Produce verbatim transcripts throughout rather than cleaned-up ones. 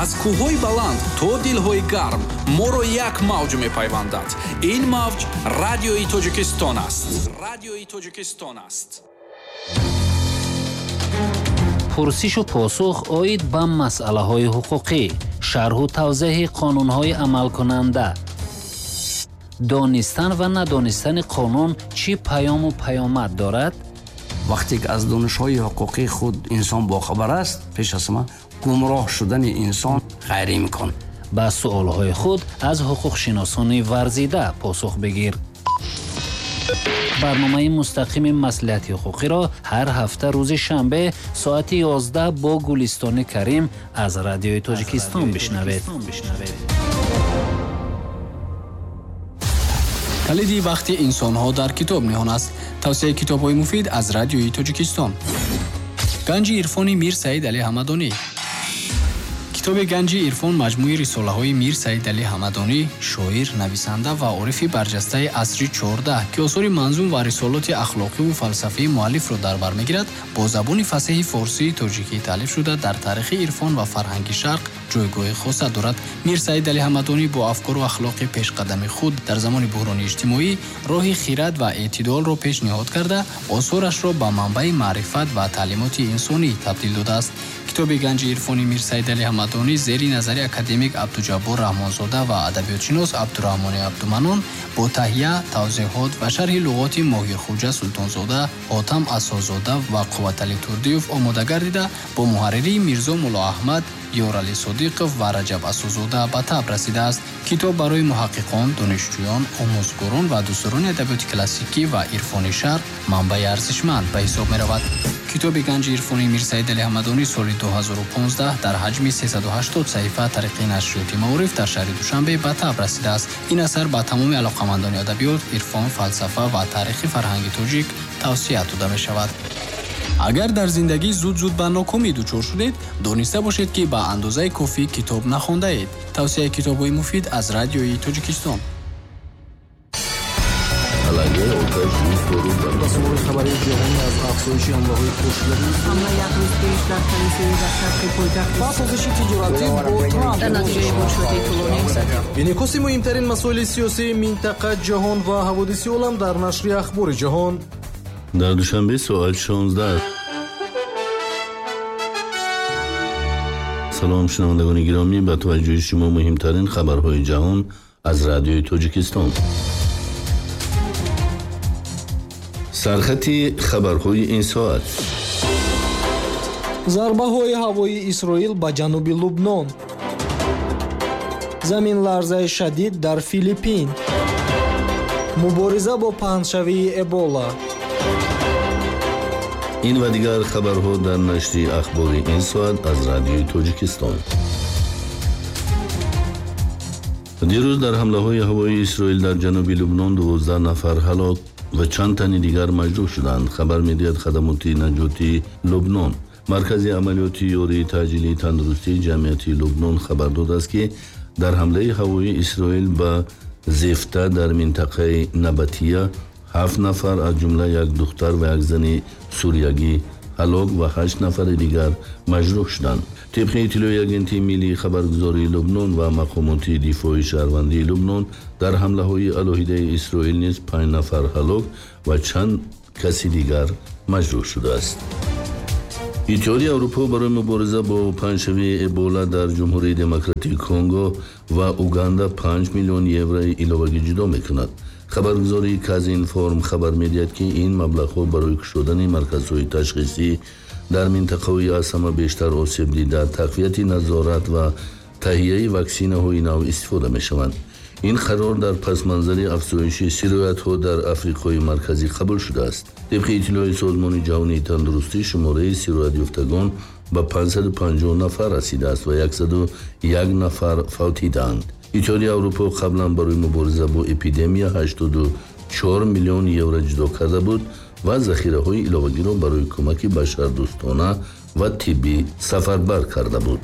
Аз кӯҳҳои баланд то дилҳои гарм моро як мавҷ мепайвандад. Ин мавҷ Радиои Тоҷикистон аст. Радиои Тоҷикистон аст. Пурсишу посух оид ба масъалаҳои ҳуқуқӣ, шарҳу тавзеҳи қонунҳои амалкунанда, донистан ва надонистани қонун чӣ паёму паёмад дорад? Вақте ки аз донишҳои ҳуқуқии худ инсон бохабар аст, пеш аз ҳама гумроҳ шудани инсон ғайриимкон. Ба суолҳои худ аз ҳуқуқшиносони варзида посух бигир. Барномаи мустақими маслиҳати ҳуқуқиро ҳар ҳафта рӯзи шанбе соати ёздаҳ бо Гулистони Карим аз Радиои Тоҷикистон бишнавед. Калиди вақти инсонҳо дар китоб ниҳон аст. Тавсияи китобҳои муфид аз Радиои Тоҷикистон. Ганҷи ирфони Мир Саид Али Ҳамадонӣ. Китоби Ганҷи ирфон маҷмӯи рисолаҳои Мир Саид Али Ҳамадонӣ, шоир, нависанда ва орифи барҷастаи асри чордаҳ, ки осори манзум ва рисолоти ахлоқиву фалсафии муаллифро дар бар мегирад, бо забони фасеҳи форсии тоҷикӣ таълиф шуда, дар таърихи ирфон ва фарҳанги шарқ ҷойгоҳи хоса дорад. Мир Саид Али Ҳамадонӣ бо афкору ахлоқи пешқадами худ дар замони буҳрони иҷтимоӣ роҳи хирад ва эътидолро пешниҳод карда, осорашро ба манбаи маърифат ва таълимоти инсонӣ табдил додааст. Китоби Ганҷи ирфони Мир Саид Али Ҳамадонӣ зери назари академик Абдуҷаббор Раҳмонзода ва адабиётшинос Абдураҳмони Абдуманон бо таҳия, тавзеҳот ва шарҳи луғоти Моҳирхуҷа Султонзода, Ҳотам Асозода ва Қувватали Турдиев омода гардида, бо муҳарририи Мирзо Муллоаҳмад, Ёрали Содиқов ва Раҷаб Асозода ба таб расидааст. Китоб барои муҳаққиқон, донишҷӯён, омӯзгорон ва дӯстдорони адабиёти классикӣ ва ирфони шарқ манбаи арзишманд ба ҳисоб меравад. Китоби Ганҷи ирфони Мир Саид Али Ҳамадонӣ соли ду ҳазору понздаҳ дар ҳаҷми сесаду ҳаштод саҳифа тариқи нашриёти Маориф дар шаҳри Душанбе ба таб расидааст. Ин асар ба тамоми алоқамандони адабиёт, ирфон, фалсафа ва таърихи фарҳанги тоҷик тавсия дода мешавад. Агар дар зиндагӣ зуд-зуд ба нокомӣ дучор шудед, дониста бошед, ки ба андозаи кофӣ китоб нахондаед. Тавсияи китобҳои муфид аз Радиои Тоҷикистон. Хабари ҷаҳонӣ аз афзоиши ҳамлаҳои пошидаи ҳамла як рӯз пеш дар калисои дар шарқи пойтахт ва созиши тиҷоратӣ бо Трамп дар натиҷаи боршоти тӯлонӣ инъикоси муҳимтарин масоили сиёсии минтақа, ҷаҳон ва ҳаводиси олам дар нашри Ахбори ҷаҳон. Дар Душанбе соат шонздаҳ. Салом шунавандагони гиромӣ, ба таваҷҷӯҳи шумо муҳимтарин хабарҳои ҷаҳон аз Радиои Тоҷикистон. Сархати хабарҳои ин соат. Зарбаҳои ҳавоии Исроил ба ҷануби Лубнон. Заминларзаи шадид дар Филиппин. Мубориза бо паҳншавии Эбола. Ин ва дигар хабарҳо дар нашри Ахбори ин соат аз Радиои Тоҷикистон. Дирӯз дар ҳамлаҳои ҳавоии Исроил дар ҷануби Лубнон дувоздаҳ нафар ҳалок ва чанд тани дигар маҷрӯҳ шуданд, хабар медиҳад хадамоти наҷоти Лубнон. Маркази амалиёти ёрии таъҷилии тандурустии ҷамъияти Лубнон хабар додааст, ки дар ҳамлаи ҳавоии Исроил ба Зефта дар минтақаи Набатия ҳафт нафар аз ҷумла як духтар ва як зани суриягӣ ҳалок ва ҳашт нафари дигар маҷрӯҳ шуданд. Тибқи иттилои агентии миллии хабаргузории Лубнон ва мақомоти дифои шаҳрвандии Лубнон, дар ҳамлаҳои алоҳидаи Исроил низ панҷ нафар ҳалок ва чанд каси дигар маҷрӯҳ шудааст. Иттиҳоди Аврупо барои мубориза бо паҳншавии Эбола дар Ҷумҳурии Демократии Конго ва Уганда панҷ миллион еврои иловагӣ ҷудо мекунад. Хабаргузории Казинформ хабар медиҳад, ки ин маблағҳо барои кушодани марказҳои ташхисӣ дар минтақаҳои аз ҳама бештар осеб дида, тақвияти назорат ва таҳияи ваксинаҳои нав истифода мешаванд. Ин қарор дар пасманзари афзоиши сироятҳо дар Африқои Марказӣ қабул шудааст. Тибқи иттилои Созмони ҷаҳонии тандурустӣ, шумораи сироятёфтагон ба панҷсаду панҷоҳ нафар расидааст ва яксаду як нафар фавтидаанд. Иттиҳоди Аврупо қаблан барои мубориза бо эпидемия ҳаштоду чор миллион евро ҷудо карда буд ва захираҳои иловагиро барои кӯмаки башардӯстона ва тиббӣ сафарбар карда буд.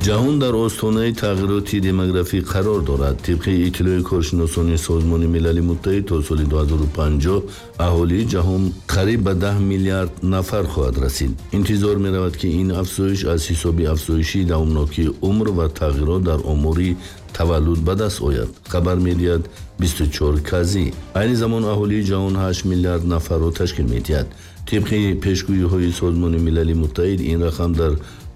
Ҷаҳон дар остонаи тағйироти демографӣ қарор дорад. Тибқи иттилои коршиносони Созмони Милали Муттаҳид, то соли ду ҳазору панҷоҳ аҳолии ҷаҳон қариб ба даҳ миллиард нафар хоҳад расид. Интизор меравад, ки ин афзоиш аз ҳисоби афзоиши давомнокии умр ва тағйирот дар омори таваллуд ба даст ояд, хабар медиҳад бисту чор казӣ. Айни замон аҳолии ҷаҳон ҳашт миллиард нафарро ташкил медиҳад. Тибқи пешгӯиҳои Созмони Милали Муттаҳид, ин рақам дар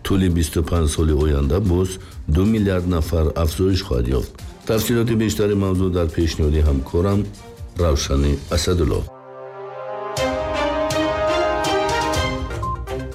тӯли бисту панҷ соли оянда боз ду миллиард нафар афзоиш хоҳад ёфт. Тафсилоти бештари мавзӯъ дар пешниҳоди ҳамкорам Равшани Асадулло.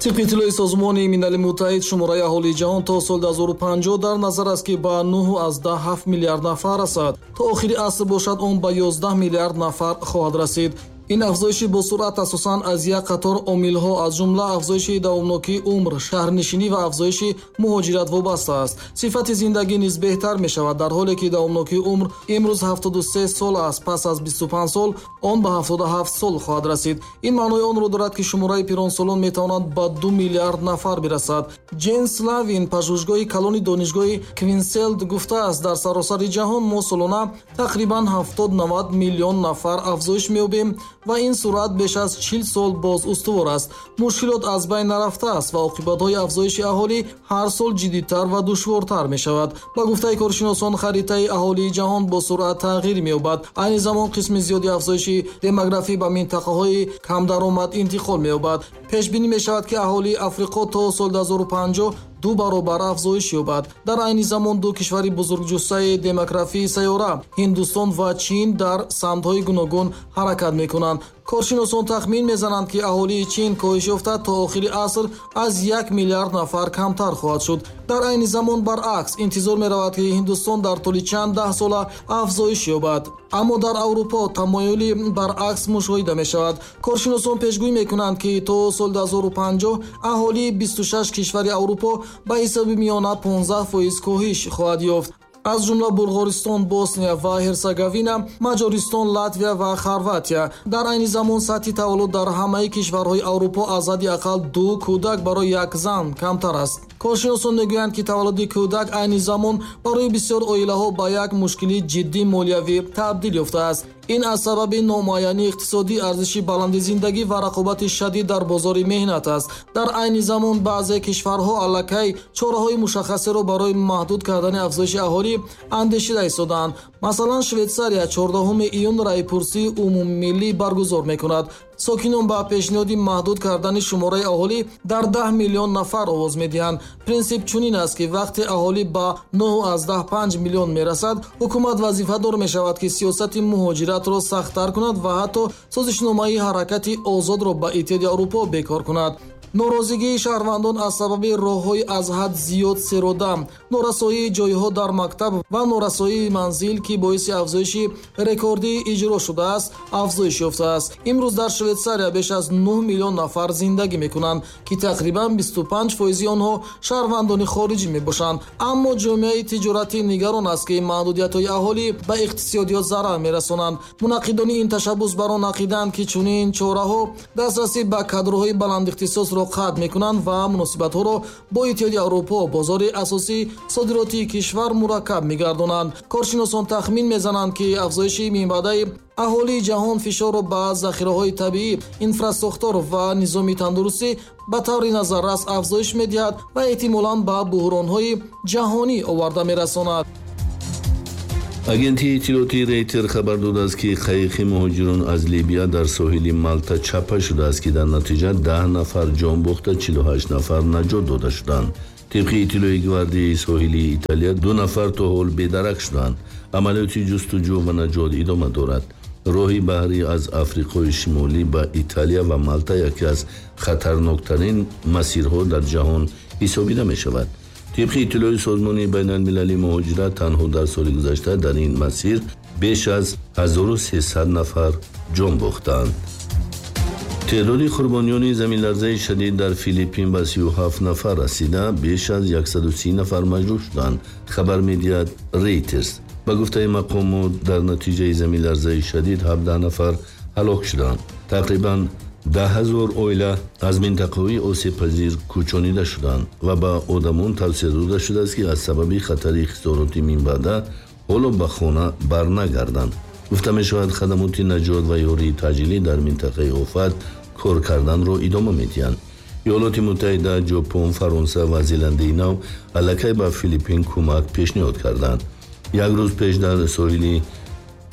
Тибқи иттилои Созмони Милали Муттаҳид, шумораи аҳолии ҷаҳон то соли ду ҳазору панҷоҳ дар назар аст, ки ба нӯҳ аз даҳ ҳафт миллиард нафар расад. То охири аср бошад, он ба ёздаҳ миллиард нафар хоҳад расид. Ин афзоиши босуръат асосан аз як қатор омилҳо, аз ҷумла афзоиши давомнокии умр, шаҳрнишинӣ ва афзоиши муҳоҷират вобаста аст. Сифати зиндагӣ низ беҳтар мешавад, дар ҳоле ки давомнокии умр имрӯз ҳафтоду се сол аст, пас аз бисту панҷ сол он ба ҳафтоду ҳафт сол хоҳад расид. Ин маънои онро дорад, ки шумораи пиронсолон метавонад ба ду миллиард нафар бирасад. Ҷен Славин, пажӯҳишгоҳи калони донишгоҳи Квинселд, гуфтааст, дар саросари ҷаҳон мо солона тақрибан ҳафтод навад миллион нафар афзоиш меёбем ва ин суръат беш аз чил сол боз устувор аст. Мушкилот аз байн нарафтааст ва оқибатҳои афзоиши аҳолӣ ҳар сол ҷиддитар ва душвортар мешавад. Ба гуфтаи коршиносон, харитаи аҳолии ҷаҳон бо суръат тағйир меёбад. Айни замон қисми зиёди афзоиши демографӣ ба минтақаҳои камдаромад интиқол меёбад. Пешбинӣ мешавад, ки аҳолии Африқо то соли ду ҳазору панҷоҳ ду баробар афзоиш ёбад. Дар айни замон ду кишвари бузургҷуссаи демографии сайёра, Ҳиндустон ва Чин, дар самтҳои гуногун ҳаракат мекунанд. Коршиносон тахмин мезананд, ки аҳолии Чин коҳиш ёфта то охири аср аз як миллиард нафар камтар хоҳад шуд. Дар айни замон баръакс интизор меравад, ки Ҳиндустон дар тӯли чанд даҳсола афзоиш ёбад. Аммо дар Аврупо тамоюли баръакс мушоҳида мешавад. Коршиносон пешгӯӣ мекунанд, ки то соли ду ҳазору панҷоҳ аҳолии бисту шаш кишвари Аврупо ба ҳисоби миёна понздаҳ фоиз коҳиш хоҳад ёфт. Аз ҷумла Булғористон, Босния ва Ҳерсеговина, Маҷористон, Латвия ва Хорватия. Дар айни замон сатҳи таваллуд дар ҳамаи кишварҳои Аврупо аз ҳадди ақал ду кӯдак барои як зан камтар аст. Коршиносон мегӯянд, ки таваллуди кӯдак айни замон барои бисёр оилаҳо ба як мушкили ҷиддии молиявӣ табдил ёфтааст. Ин аз сабаби номуайянии иқтисодӣ, арзиши баланди зиндагӣ ва рақобати шадид дар бозори меҳнат аст. Дар айни замон баъзе кишварҳо аллакай чораҳои мушаххасеро барои маҳдуд кардани афзоиши аҳолӣ андешида истодаанд. Масалан, Швейтсария чордаҳуми июн раъйпурсии умумимиллӣ баргузор мекунад. Сокинон ба пешниҳоди маҳдуд кардани шумораи аҳолӣ дар даҳ миллион нафар овоз медиҳанд. Принсип чунин аст, ки вақте аҳолӣ ба нӯҳ аз даҳ панҷ миллион мерасад, ҳукумат вазифадор мешавад, ки сиёсати муҳоҷиратро сахттар кунад ва ҳатто созишномаи ҳаракати озодро ба Иттиҳоди Аврупо бекор кунад. Норозигии шаҳрвандон аз сабаби роҳҳои аз ҳад зиёд серодам, норасоии ҷойҳо дар мактаб ва норасоии манзил, ки боиси афзоиши рекордии иҷро шудааст, афзоиш ёфтааст. Имрӯз дар Швейтсария беш аз нӯҳ миллион нафар зиндагӣ мекунанд, ки тақрибан бисту панҷ фоизи онҳо шаҳрвандони хориҷӣ мебошанд. Аммо ҷомеаи тиҷоратӣ нигарон аст, ки маҳдудиятҳои аҳолӣ ба иқтисодиёт зарар мерасонанд. Мунаққидони ин ташаббус бар он ақидаанд, ки чунин чораҳо дастрасӣ ба кадрҳои баландихтисосро қатъ мекунанд ва муносибатҳоро бо Иттиҳоди Аврупо, бозори асосии содиротии кишвар, мураккаб мегардонанд. Коршиносон тахмин мезананд, ки афзоиши минбаъдаи аҳолии ҷаҳон фишорро ба захираҳои табиӣ, инфрасохтор ва низоми тандурустӣ ба таври назаррас афзоиш медиҳад ва эҳтимолан ба буҳронҳои ҷаҳонӣ оварда мерасонад. Агентии иттилоотии Рейтер хабар додааст, ки қайиқи муҳоҷирон аз Либия дар соҳили Малта чапа шудааст, ки дар натиҷа даҳ нафар ҷон бохта, чилу ҳашт нафар наҷот дода шуданд. Тибқи иттилои гвардияи соҳилии Италия, ду нафар то ҳол бедарак шуданд. Амалиёти ҷустуҷӯ ва наҷот идома дорад. Роҳи баҳрӣ аз Африқои Шимолӣ ба Италия ва Малта яке аз хатарноктарин масирҳо дар ҷаҳон ҳисобида мешавад. Тибқи иттилои Созмони байналмилалии муҳоҷират, танҳо дар соли гузашта дар ин масир беш аз ҳазору сесад нафар ҷон бохтанд. Теъдоди қурбониёни заминларзаи шадид дар Филиппин ба сию ҳафт нафар расида, беш аз яксаду си нафар маҷрӯҳ шуданд, хабар медиҳад Рейтерс. Ба гуфтаи мақомот, дар натиҷаи заминларзаи шадид ҳабдаҳ нафар ҳалок шуданд. Тақрибан Даҳ ҳазор оила аз минтақаҳои осебпазир кӯчонида шуданд ва ба одамон тавсия дода шудааст, ки аз сабаби хатари хисороти минбаъда ҳоло ба хона барнагарданд. Гуфта мешавад, хадамоти наҷот ва ёрии таъҷилӣ дар минтақаи офат кор карданро идома медиҳанд. Иёлоти Муттаҳида, Ҷопон, Фаронса ва Зеландияи Нав аллакай ба Филиппин кӯмак пешниҳод карданд. Як рӯз пеш дар соҳили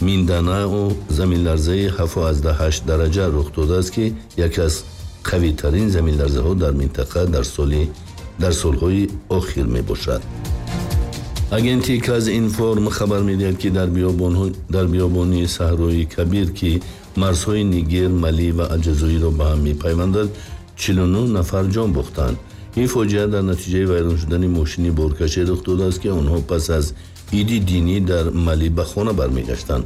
Минданао заминларзаи ҳафт аз ҳашт дараҷа рух додааст, ки яке аз қавитарин заминларзаҳо дар минтақа дар соли дар солҳои охир мебошад. Агентии Казинформ хабар медиҳад, ки дар биёбонҳо дар биёбони Саҳрои Кабир, ки марзҳои Нигер, Мали ва Алҷазоирро ба ҳам мепайвандад, чилу нӯҳ нафар ҷон бохтанд. Ин фоҷиа дар натиҷаи вайрон шудани мошини боркаше рух додааст, ки онҳо пас аз иди динӣ дар Мали ба хона бармегаштанд.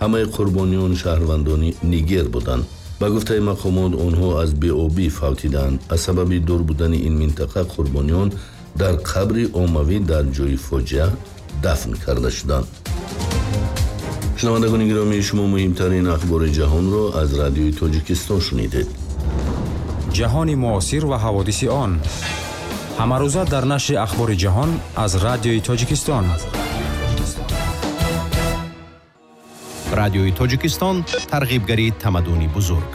Ҳамаи қурбониён шаҳрвандони Нигер буданд. Ба гуфтаи мақомот, онҳо аз беобӣ фавтиданд. Аз сабаби дур будани ин минтақа қурбониён дар қабри оммавӣ дар ҷои фоҷиа дафн карда шуданд. Шунавандагони гиромӣ, шумо муҳимтарин ахбори ҷаҳонро аз Радиои Тоҷикистон шунидед. Ҷаҳони муосир ва ҳаводиси он ҳамарӯза дар нашри Ахбори ҷаҳон аз Радиои Тоҷикистон. Радиои Тоҷикистон тарғибгари тамаддуни бузург.